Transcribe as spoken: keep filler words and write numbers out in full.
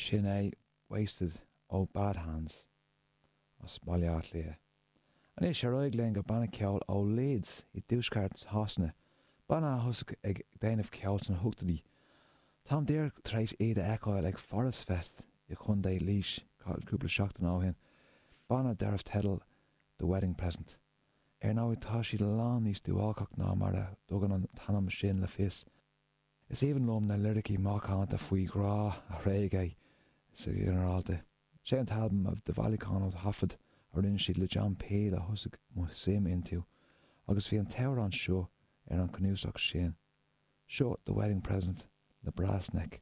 Sin é Wasted ó Bad Hands as Baile Átha Cliath. Anois ar aghaidh linn go banna ceoil ó Leeds i dtuaisceart Shasana, banna a thosaigh ag déanamh ceoil sna hochtóidí. Táim díreach tar éis iad a fheiceáil ag Forest Fest i gContae Laois cúpla seachtain ó shin, banna darbh teideal The Wedding Present. Ar ndóigh tá siad lán níos duáilceach ná mar a dtugann an t-ainm sin le fios. Is aoibhinn liom na liricí macánta faoi ghrá a thréigeadh sa ghinearálta. Sé an t-albam de bhailiúchán ó thaifead a rinne siad le John Peel a thosaigh mo suim iontu, agus bhí an t-amhrán seo ar an cnuasach sin. Seo The Wedding Present le Brassneck.